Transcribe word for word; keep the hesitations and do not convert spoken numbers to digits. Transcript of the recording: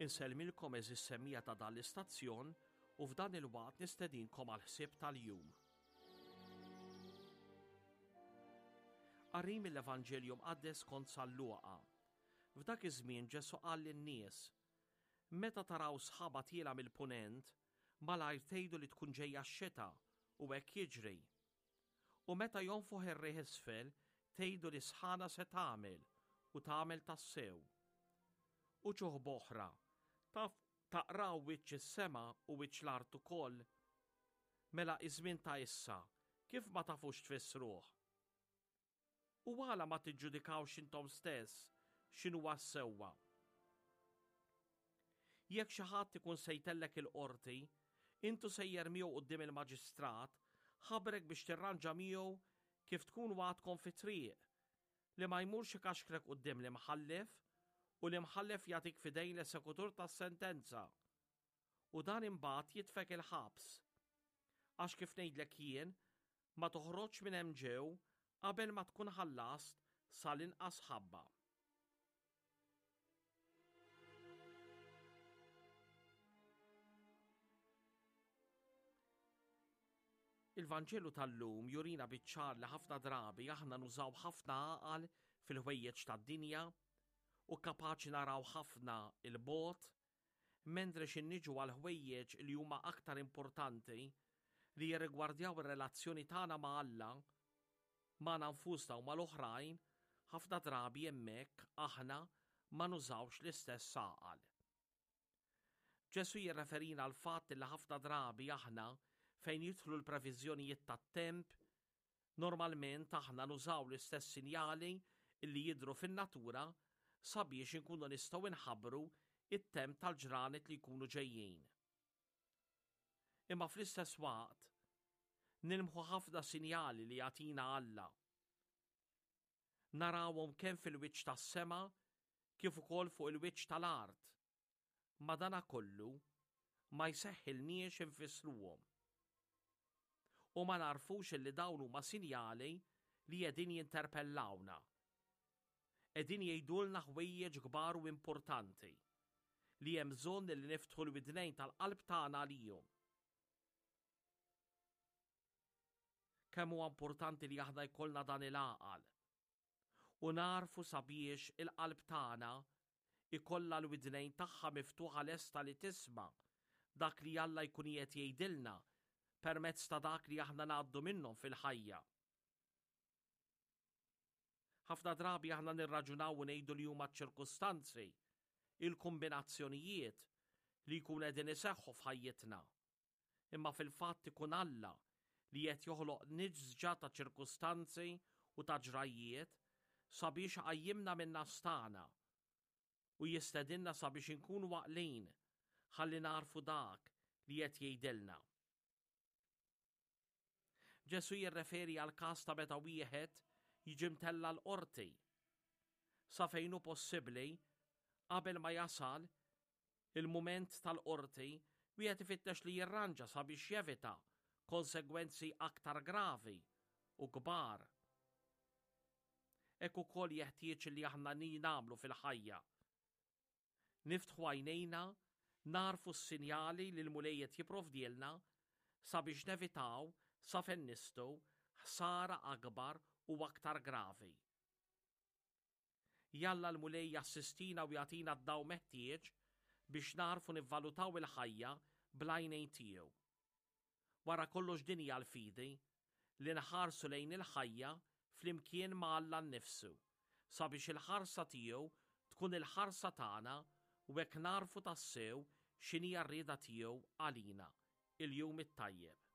Insellmilkom għeżież semmiegħa ta' dan l-istazzjon u f'dan il-waqt nistedinkom għal ħsieb tal-jum. Qari mill-Evanġelju Mqaddes kont San Luqa. F'dak iż-żmien Ġesù qal lin-nies: Meta taraw sħaba tiela mill-punent, malajr tgħidu li tkun ġejja x-xita u hekk jiġri. U meta jonfoħ ir-riħ isfel, tgħidu li sħana se tagħmel u tagħmel tassew. Uċuħ b'oħra, taf taqraw wiċċ is-sema u wiċċ l-art ukoll. Mela iż-żmien ta' issa, kif ma tafux tfissruh? U għala ma tiġġudikawx intom stess x'inhuwa s-sewwa? Jekk xi ħadd ikun se jtellek il-qorti, intu sejjer miegħu quddiem il-maġistrat, ħabrek biex tirranġa miegħu kif tkun għadkom fit-triq, li ma jmurx ikaxkrek quddiem l-imħallef u l-imħallef jagħtik f'idejn l-esekutur tas-sentenza. U dan imbagħad jitfek il-ħabs. Għax kif ngħidlek jien, ma toħroġx minn hemm ġew qabel ma tkun ħallast sal-inqas ħabba. Il-Vanġelu tal-lum jurina biċ-ċar li ħafna drabi aħna nużaw ħafna għaqal fil-ħwejjeġ tad-dinja u kapaċi naraw ħafna il-bogħod, mentri x'ħin niġu għal ħwejjeġ li huma aktar importanti li jirrigwardjaw ir-relazzjoni tagħna ma' Alla, magħna nfusna u mal-oħrajn, ħafna drabi hemmhekk aħna ma nużawx l-istess għaqal. Ġesù jirreferina għal fatt li ħafna drabi aħna fejn jidħlu l-previżjonijiet tat-temp, normalment aħna nużaw l-istess sinjali li jidhru fin-natura sabiex inkunu nistgħu nħabbru it-temp tal-ġranet li jkunu ġejjin. Imma fl-istess waqt nilmħu ħafna sinjali li jagħtina Alla. Narawhom kemm fil-wiċċ tas-sema kif ukoll fuq il-wiċċ tal-art. Madanakollu ma jseħħilniex infissruhom. U ma narfux li dawn huma sinjali li qegħdin jinterpellawna. Qegħdin jgħidulna ħwejjeġ kbar u importanti li hemm bżonn li niftħu l-widnejn tal-qalb tagħna għalihom. Kemm huwa importanti li aħna jkollna dan il-għaqal u narfu sabiex il-qalb tagħna ikollha l-widnejn tagħha miftuħa lesta li tisma' dak li Alla jkun qiegħed jgħidilna permezz ta' dak li aħna ngħaddu minnhom fil-ħajja. Ħafna drabi aħna nirraġunaw u ngħidu li huma ċ-ċirkustanzi, il-kombinazzjonijiet li jkunu qegħdin iseħħu f'ħajjitna. Imma fil-fatt ikun Alla li qed joħloq nisġa ta' ċirkustanzi u ta' ġrajjiet sabiex iqajjimna minn nastana u jistedinna sabiex inkunu għaqlin ħalli narfu dak li qed jgħidilna. Ġesù jirreferi għal każ ta' meta wieħed jiġi mtella l-qorti. Sa fejn hu possibbli, qabel ma jasal il-mument tal-qorti, wieħed ifittex li jirranġa sabiex jevita konsegwenzi aktar gravi u kbar. Hekk ukoll jeħtieġ li aħna nagħmlu fil-ħajja. Niftħu għajnejna, narfu s-sinjali li l-Mulej qed jipprovdielna sabiex nevitaw sa fejn nistgħu ħsara akbar u aktar gravi. Jalla l-Mulej jassistina u jagħtina d-daw meħtieġ biex narfu nivvalutaw il-ħajja bl-għajnejn tiegħu. Wara kollox din hija l-fidi li nħarsu lejn il-ħajja flimkien ma' Alla nnifsu sabiex il-ħarsa tiegħu tkun il-ħarsa tagħna u hekk narfu tassew x'inhi r-rieda tiegħu għalina. Il-jum it-tajjeb.